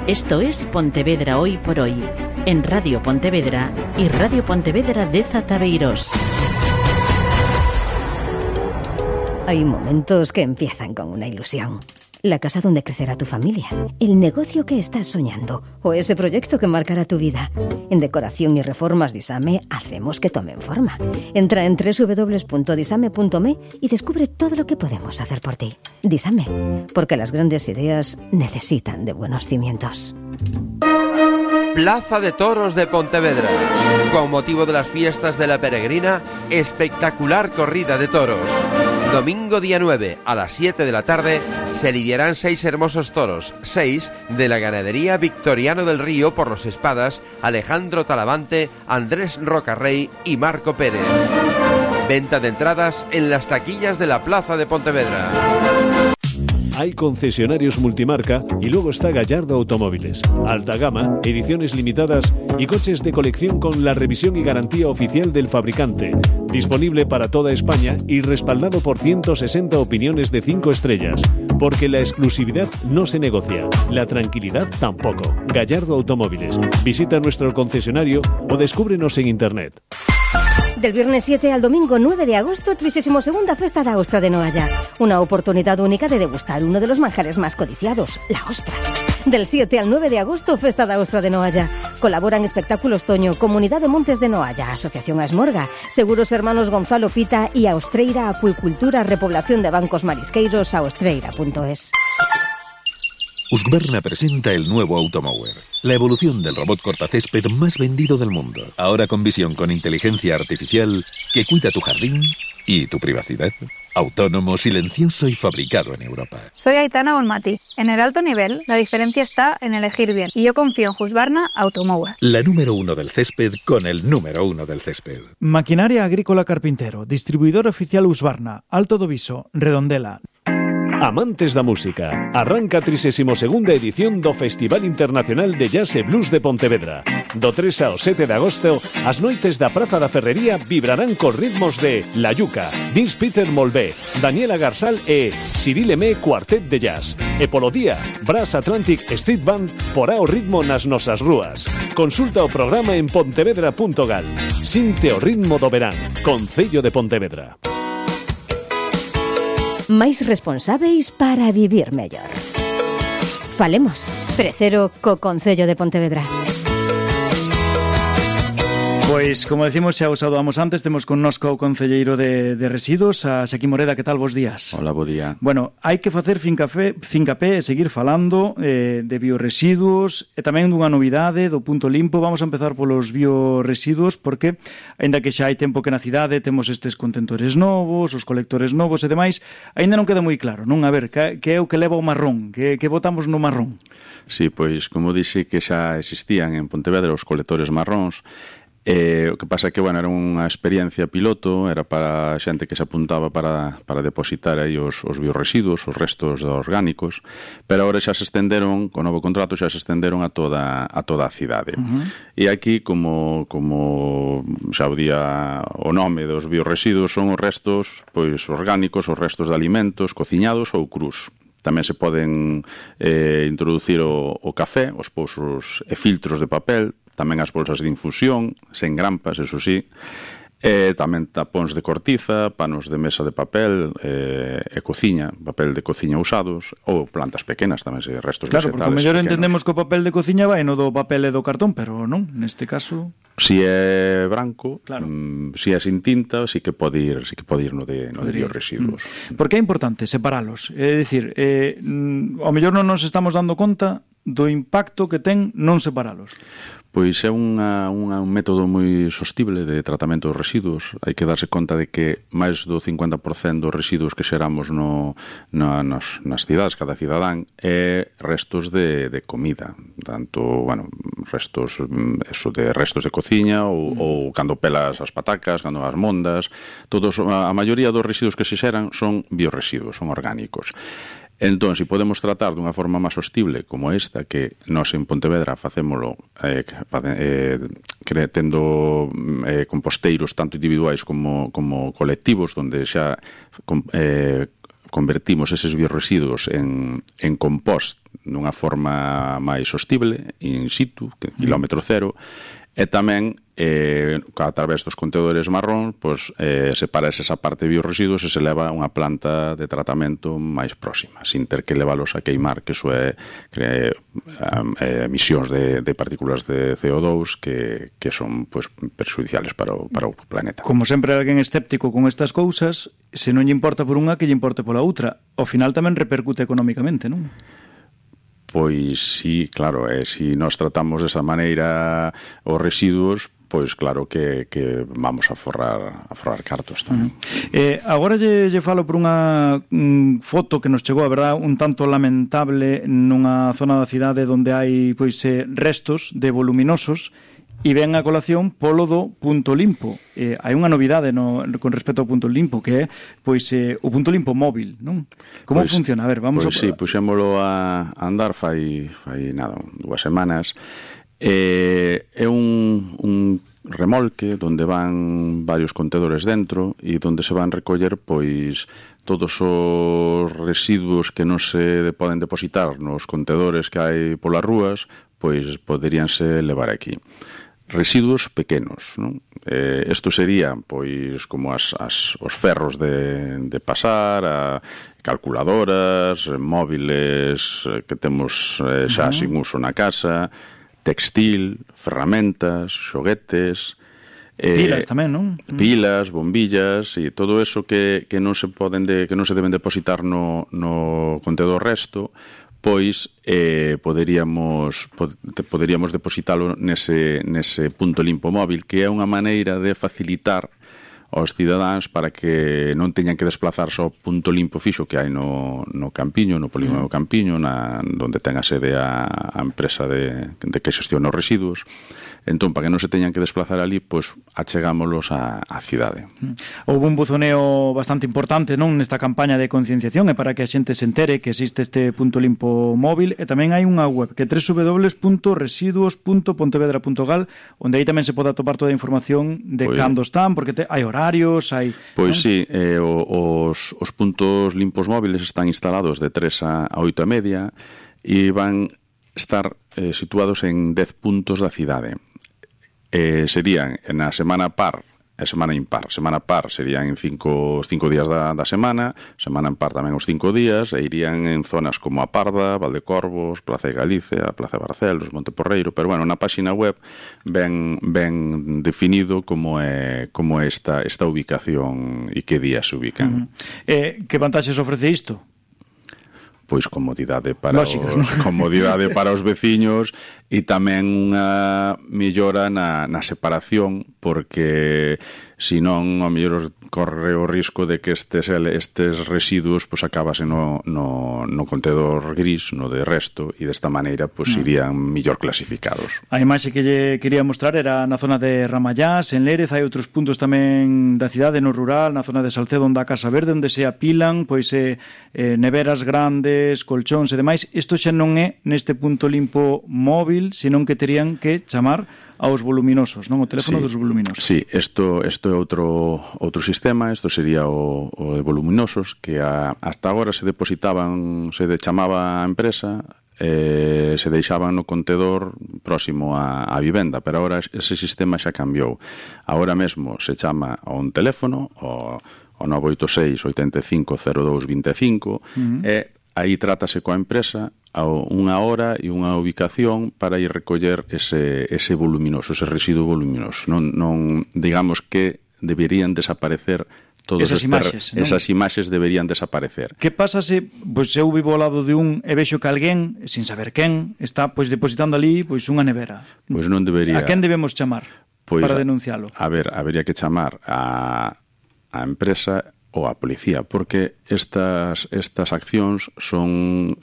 Esto es Pontevedra Hoy por Hoy, en Radio Pontevedra y Radio Pontevedra de Zataveiros. Hay momentos que empiezan con una ilusión. La casa donde crecerá tu familia, el negocio que estás soñando o ese proyecto que marcará tu vida. En Decoración y Reformas Disame hacemos que tomen forma. Entra en www.disame.me y descubre todo lo que podemos hacer por ti. Disame, porque las grandes ideas necesitan de buenos cimientos. Plaza de Toros de Pontevedra. Con motivo de las fiestas de la Peregrina, espectacular corrida de toros. Domingo día 9 a las 7 de la tarde se lidiarán 6 hermosos toros, 6 de la ganadería Victoriano del Río por los Espadas, Alejandro Talavante, Andrés Rocarrey y Marco Pérez. Venta de entradas en las taquillas de la Plaza de Pontevedra. Hay concesionarios multimarca y luego está Gallardo Automóviles. Alta gama, ediciones limitadas y coches de colección con la revisión y garantía oficial del fabricante. Disponible para toda España y respaldado por 160 opiniones de 5 estrellas. Porque la exclusividad no se negocia, la tranquilidad tampoco. Gallardo Automóviles. Visita nuestro concesionario o descúbrenos en internet. Del viernes 7 al domingo 9 de agosto, 32ª Festa da Ostra de Noalla. Una oportunidad única de degustar uno de los manjares más codiciados, la ostra. Del 7 al 9 de agosto, Festa da Ostra de Noalla. Colaboran Espectáculos Toño, Comunidad de Montes de Noalla, Asociación Asmorga, Seguros Hermanos Gonzalo Pita y Austreira Acuicultura, Repoblación de Bancos Marisqueiros, austreira.es. Husqvarna presenta el nuevo Automower, la evolución del robot cortacésped más vendido del mundo. Ahora con visión con inteligencia artificial que cuida tu jardín y tu privacidad. Autónomo, silencioso y fabricado en Europa. Soy Aitana Bonmati. En el alto nivel, la diferencia está en elegir bien. Y yo confío en Husqvarna Automower. La número 1 del césped con el número 1 del césped. Maquinaria Agrícola Carpintero. Distribuidor oficial Husqvarna. Alto do Viso. Redondela. Amantes da música, arranca a 32ª edición do Festival Internacional de Jazz e Blues de Pontevedra. Do 3 ao 7 de agosto, as noites da Praza da Ferrería vibrarán cos ritmos de La Yuca, Vince Peter Molvé, Daniela Garsal e Cyril Lemé Cuartet de Jazz. E polo día, Brass Atlantic Street Band porá o ritmo nas nosas rúas. Consulta o programa en pontevedra.gal. Sinte o ritmo do verán, Concello de Pontevedra. Máis responsáveis para vivir mellor. Falemos, Precero co Concello de Pontevedra. Pois, como decimos, xa os saudamos antes, temos connosco o concelleiro de Residuos, a Xaquín Moreda. Que tal, bos días? Hola, bo día. Bueno, hai que facer fincapé e seguir falando de bioresiduos e tamén dunha novidade do punto limpo. Vamos a empezar polos bioresiduos porque, aínda que xa hai tempo que na cidade temos estes contentores novos, os colectores novos e demais, aínda non queda moi claro, non? A ver, que é o que leva o marrón? Que botamos no marrón? Sí, pois, como dixe que xa existían en Pontevedra os colectores marróns. O que pasa é que, bueno, era unha experiencia piloto, era para xente que se apuntaba para depositar aí os bioresiduos, os restos orgánicos, pero agora xa se estenderon, con novo contrato xa se estenderon a toda a cidade. E aquí, como xa o día o nome dos bioresiduos, son os restos pois orgánicos, os restos de alimentos cociñados ou crus. Tamén se poden introducir o café, os pousos e filtros de papel, tamén as bolsas de infusión, sen grampas, eso sí, tamén tapóns de cortiza, panos de mesa de papel e cociña, papel de cociña usados, ou plantas pequenas tamén, restos vegetales. Claro, porque o mellor entendemos que o papel de cociña vai no do papel e do cartón, pero non, neste caso... Si é branco, claro. Si é sin tinta, sí que pode ir no de bioresiduos. Porque é importante separalos, é dicir, ao mellor non nos estamos dando conta do impacto que ten non separalos. Pois é un método moi sostible de tratamento dos residuos. Hai que darse conta de que máis do 50% dos residuos que xeramos nas cidades, cada cidadán, é restos de comida. Tanto, bueno, restos de cociña ou cando pelas as patacas, cando as mondas, a maioría dos residuos que se xeran son bioresiduos, son orgánicos. Entón, se podemos tratar dunha forma máis sostible como esta, que nós en Pontevedra facémolo tendo composteiros tanto individuais como colectivos, onde xa convertimos eses biorresiduos en compost nunha forma máis sostible, in situ, quilómetro cero, e tamén a través dos contenedores marrón separa esa parte de biorresiduos e se leva a unha planta de tratamento máis próxima, sin ter que leválos a queimar, que iso é emisións de partículas de CO2 que son perxudiciales para o planeta. Como sempre alguén escéptico con estas cousas, se non lle importa por unha, que lle importe pola outra. Ao final tamén repercute económicamente, non? Pois sí, claro, se nós tratamos desa maneira os residuos, pois claro que vamos a forrar cartos tamén. Agora lle falo por unha foto que nos chegou, a verdad, un tanto lamentable nunha zona da cidade onde hai restos de voluminosos, e ven a colación polo do punto limpo. Hai unha novidade con respecto ao punto limpo, que é o punto limpo móvil, non? Como funciona? A ver, vamos sí, puxémolo a andar fai nada, 2 semanas. É un remolque onde van varios contedores dentro e onde se van recoller todos os residuos que non se poden depositar nos contedores que hai polas rúas, poderíanse levar aquí. Residuos pequenos, non? Isto sería como os ferros de pasar, calculadoras, móviles que temos xa sin uso na casa, textil, ferramentas, xoguetes, pilas tamén, non? Pilas, bombillas e todo eso que non se deben depositar no contenedor resto, poderíamos depositalo nese punto limpo móvil, que é unha maneira de facilitar aos cidadáns para que non teñan que desplazarse ao punto limpo fixo que hai no Campiño, no polígono do Campiño, onde ten a sede a empresa de que xestiona os residuos. Entón, para que non se teñan que desplazar ali, achegámolos á cidade. Houve un buzoneo bastante importante, non, nesta campaña de concienciación, e para que a xente se entere que existe este punto limpo móvil, e tamén hai unha web que é www.residuos.pontevedra.gal, onde aí tamén se pode atopar toda a información de cando están, porque hai horarios, hai... Sí, os puntos limpos móviles están instalados de 3 a 8:30 e van estar situados en 10 puntos da cidade. Serían na semana par e semana impar. Semana par serían en 5 días da semana, semana impar tamén os 5 días, e irían en zonas como a Parda, Valdecorvos, Plaza de Galicia, Plaza de Barcelos, Monteporreiro, pero na página web ben definido como é esta ubicación e que días se ubican. Que vantaxes ofrece isto? Comodidade para os veciños e tamén unha mellora na separación, porque senón ao mellor corre o risco de que estes residuos acabasen no contenedor gris, no de resto, e desta maneira irían mellor clasificados. A imaxe que lle quería mostrar era na zona de Ramallás, en Lérez. Hai outros puntos tamén da cidade, no rural, na zona de Salcedo, onde a Casa Verde, onde se apilan neveras grandes, colchóns e demais. Isto xa non é neste punto limpo móvil, senón que terían que chamar aos voluminosos, non? O teléfono dos voluminosos. Sí, isto é outro sistema. Isto sería o de voluminosos, que hasta agora se chamaba a empresa, se deixaban no contenedor próximo á vivenda, pero agora ese sistema xa cambiou. Agora mesmo se chama a un teléfono, o 986 85 02 25, e aí trátase coa empresa unha hora e unha ubicación para ir recoller ese voluminoso, ese residuo voluminoso. Non digamos que deberían desaparecer todas esas imaxes deberían desaparecer. Que pasa se eu vivo ao lado de un e vexo que alguén, sin saber quen, está depositando ali unha nevera? Non debería. A quen debemos chamar para denuncialo? A ver, habería que chamar a empresa ou a policía, porque estas accións son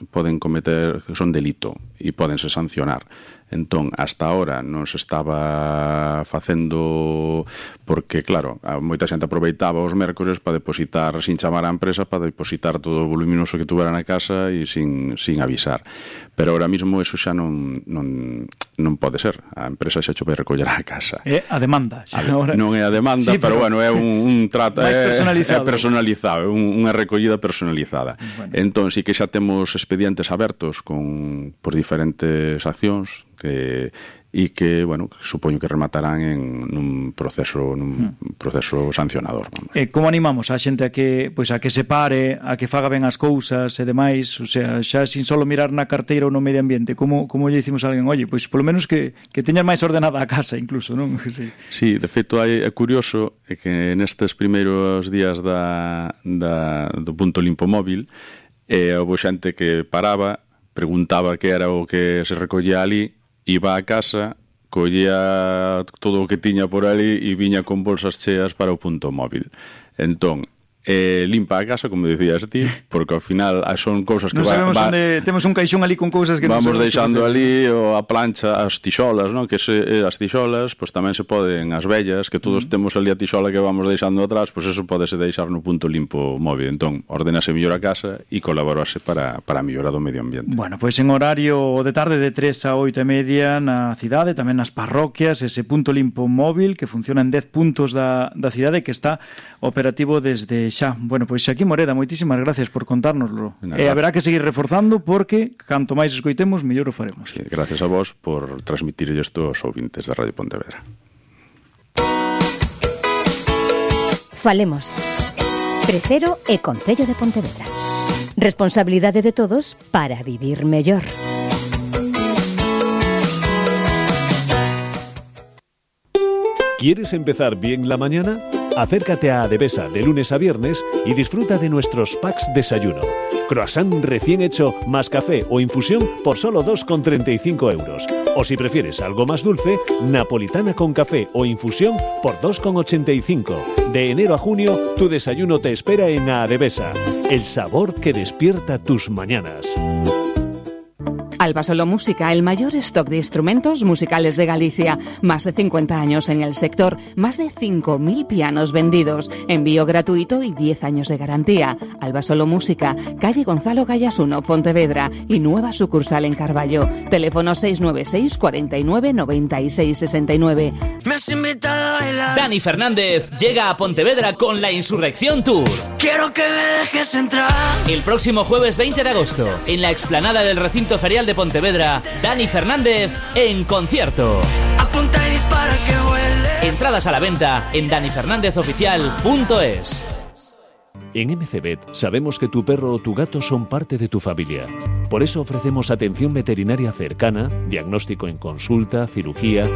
delito e pódense sancionar. Entón, hasta ahora non se estaba facendo porque, claro, moita xente aproveitaba os mércores para depositar, sin chamar á empresa, para depositar todo o voluminoso que tuvera na casa e sin avisar. Pero ahora mismo eso xa non pode ser. A empresa xa vai recoller a casa. É a demanda. Non é a demanda, sí, pero é un trato. Mais personalizado. É personalizado, unha recollida personalizada. Bueno. Entón, sí que xa temos expedientes abertos por diferentes accións e que, bueno, supoño que rematarán nun proceso sancionador. Como animamos a xente a que se pare, a que faga ben as cousas e demais, o sea, xa sin solo mirar na carteira ou no medio ambiente, como lle dicimos a alguén, oye, pois polo menos que teñas máis ordenada a casa incluso, non? Sí, de feito é curioso que nestes primeiros días do punto limpo móvil houve xente que paraba, preguntaba que era o que se recollía ali, iba a casa, collía todo o que tiña por ali e viña con bolsas cheas para o punto móvil. Entón, limpa a casa, como dicías ti, porque ao final son cousas que non sabemos onde temos un caixón ali con cousas que vamos deixando ali, ou a plancha, as tixolas, non? Que as tixolas, pois tamén se poden, as vellas, que todos temos ali a tixola que vamos deixando atrás, pois eso podese deixar no punto limpo móvil. Entón, ordenase mellor a casa e colaborase para a mellora do medio ambiente. Bueno, pois en horario de tarde de 3 a 8:30 na cidade, tamén nas parroquias, ese punto limpo móvil que funciona en 10 puntos da cidade, que está operativo desde xa. Bueno, pois aquí Moreda, moitísimas gracias por contárnoslo. Haberá que seguir reforzando porque canto máis escoitemos, mellor o faremos. Sí, gracias a vos por transmitir isto aos ouvintes de Radio Pontevedra. Falemos. Crecero e Concello de Pontevedra. Responsabilidade de todos para vivir mellor. ¿Quieres empezar bien la mañana? Acércate a Adevesa de lunes a viernes y disfruta de nuestros packs desayuno. Croissant recién hecho más café o infusión por solo 2,35 euros. O si prefieres algo más dulce, napolitana con café o infusión por 2,85. De enero a junio, tu desayuno te espera en Adevesa. El sabor que despierta tus mañanas. Alba Solo Música, el mayor stock de instrumentos musicales de Galicia. Más de 50 años en el sector, más de 5.000 pianos vendidos, envío gratuito y 10 años de garantía. Alba Solo Música, calle Gonzalo Gallas 1, Pontevedra, y nueva sucursal en Carballo. Teléfono 696 49 96 69. Me has invitado a bailar. Dani Fernández llega a Pontevedra con la Insurrección Tour. Quiero que me dejes entrar. El próximo jueves 20 de agosto, en la explanada del recinto ferial de Pontevedra, Dani Fernández en concierto. Apunta y dispara que vuele. Entradas a la venta en danifernández.oficial.es. En MCVet sabemos que tu perro o tu gato son parte de tu familia. Por eso ofrecemos atención veterinaria cercana, diagnóstico en consulta, cirugía